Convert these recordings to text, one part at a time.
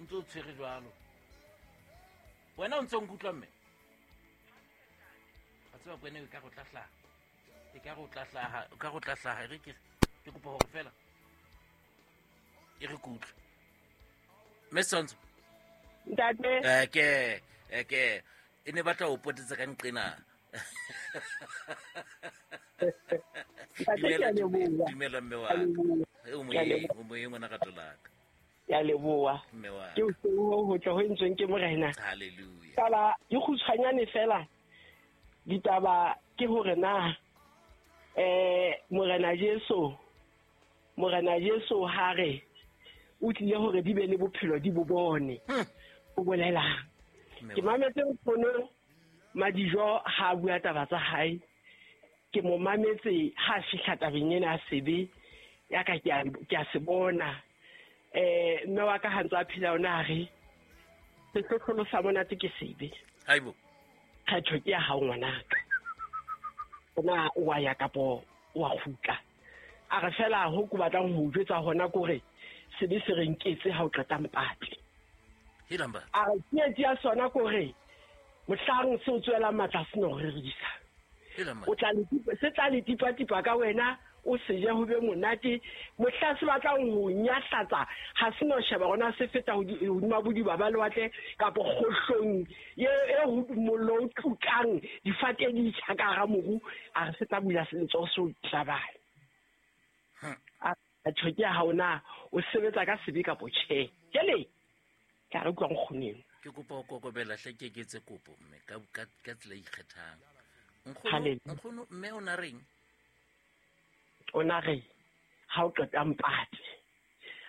ntse o tshwere jwalo. Wena o ntse o nkutlwa mme? A tseba kwene e ka go tla hlaha. E ka go tla hlaha, e ka go tla hlaha. E re ke kopa hore fela e re kutlwe. Mme Setshwantsho. Ntate. Ke e ne batla o potetse ka nqena. Dumela mme wa ka. O moyeng ngwana rato la ka. Ya leboha. Mme wa Ke o ho tla ho entsweng ke Morena. Hallelujah. Taba di kgutshwanyane fela. Ditaba ke hore na Morena Jesu ha re o tlile hore di be le bophelo di bo bone. O bolelang. Ke mametse nkgono Madijo ha bua taba tsa hae. Ke mo mametse ha fihla tabeng ena ya sebe ya ka ke a se bona. Mme wa ka ha ntse a phela ona a re sehlohlolo sa monate ke sebe. Haibo. Kgetho ke ya hao ngwanaka. Ona wa ya kapo wa kgutla. A re fela ho ke batlang ho jwetsa hona kore sebe se re nketse ha o qeta mpatli. Hilamba. A re tsietsi ya sona kore mohlang se o tswela matla se no rerisa. Hilamba. O tla se tla le tipa-tipa ka wena o se je ho be monate mohla se batlang ho nyahlatsa ha se no sheba rona se feta hodima bodiba ba lewatle kapo kgohlong e ho mollo o tukang difate di tjha ka hara moru a re se tla bula letsoho se o tlabale. A tjho ke ha ona o sebetsa ka sebe kapo tjhe. Jwale ka re utlwa nkgoneng. Ke kopa ho kokobela hle ke eketse kopo mme ka tsela e ikgethang. Nkgono mme o na reng? O na re ha o qeta mpate.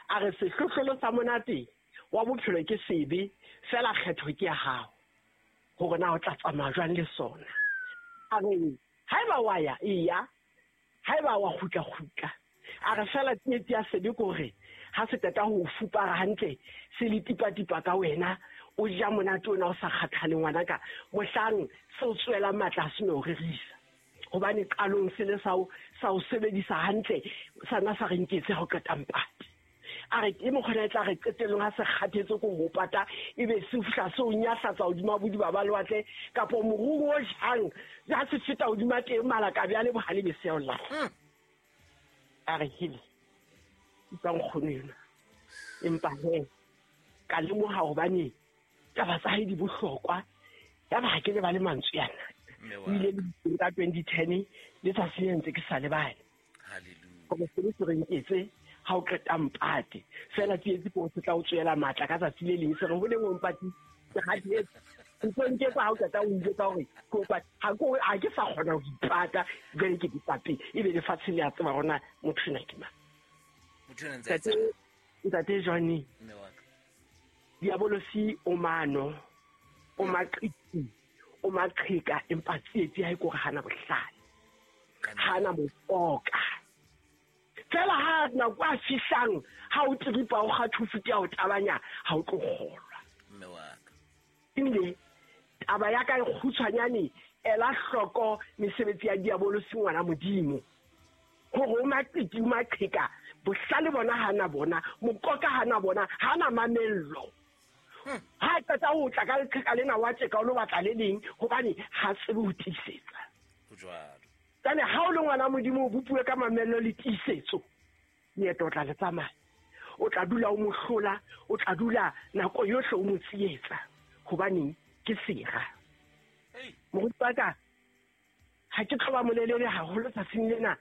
A re sehlohlolo sa monate wa bophelo ke sebe fela kgetho ke ya hao hore na o tla tsamaya jwang le sona. A re haeba wa ya eya, haeba wa kgutla kgutla. A re fela tsietsi ya sebe ke hore ha se qeta ho fupara hantle se le tipa-tipa ka wena o ja monate ona o sa kgathale ngwanaka mohlang se o tswela matla a se no rerisa. Hobane qalong se le sa o sebedisa hantle sana sa re nketse ha o qeta mpate. A re ke mokgona e tla re qetellong ha se kgathetse ko ho pata ebe se fihla se o nyahlatsa hodima bodiba ba lewatle kapo morung o jang ha se feta hodima teng malakabe a le bohale be se ya o lahla. A re hele utlwa nkgono ena. Empa he ka lemoha hobane taba tsa hae di bohlokwa ya ba ha ke lebale mantswe yana. O ile le ka 2010 le tsatsi le ntse ke sa lebale. Hallelujah. Hore sebe se re nketse ha o qeta mpate fela tsietsi ko se tla o tswela matla ka tsatsi le leng se re ho leng o mpate ke kgathetse. Ntse nketsa ha o qeta o njwetsa hore ke o pate ha ke sa kgona ho ipata jwale ke dipape ebe lefatshe le a tseba hore motho ena ke mang. Motho ena ntse a etsa. Ntate Johnny. Mme wa ka. Diabolosi o mano, o maqiti, o maqheka empa tsietsi ha e kore hana bohlale. Hana mokoka. Fela ha nako a fihlang ha o tripa o kgathufuti o tabanya ha o tlo kgolwa. Mme wa ka. Ebile taba ya ka e kgutshwanyane ela hloko mesebetsi ya diabolosi ngwana Modimo. Hore o maqiti o maqheka bohlale bona hana bona mokoka hana bona hana mamello. Ha qeta ho tla ka leqheka lena wa tjeka o lo batla le leng hobane ha tsebe ho tiisetsa. Ho jwalo. Jwale ha o le ngwana Modimo o bopuwe ka mamello le tiisetso, leeto o tla le tsamaya. O tla dula o mo hlola, o tla dula nako yohle o mo tsietsa hobane ke sera. Moruti wa ka ha ke tlo ba molelele haholo tsatsing lena.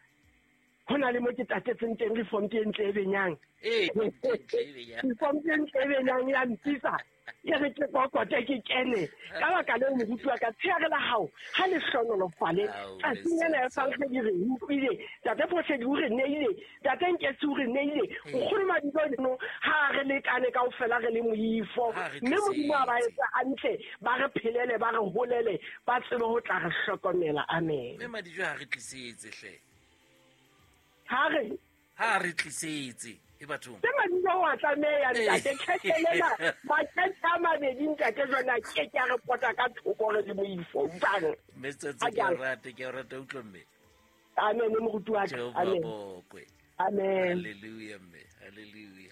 Ho na le mo ke tatetseng teng reform ke ntle e benyang. Reform ke ntle e benyang ya mpitsa. E re ke kokote ke kene. Ka baka leo moruti wa ka tsheare la hao ha le hlonolofale. Tsatsing lena ya Sankgedi re utlwile, Ntate Phohledi o re neile, Ntate Nketsi o re neile. Nkgono Madijo no ha re lekane kaofela re le moifo. Mme Modimo a ba etsa hantle, ba re phelele, ba re holele, ba tsebe ho tla re hlokomela. Amen. Mme Madijo ha re tlisetse hle. Ha re tlisetse e bathong. Ke Madijo wa tlameha ntate khethelena makhethe a mabedi ntate jona ke ke a re pota ka thoko re le moifo bang. Mme tsatsi ke rata utlwa mme. Amen moruti wa ka. Amen. Amen. Hallelujah mme. Hallelujah.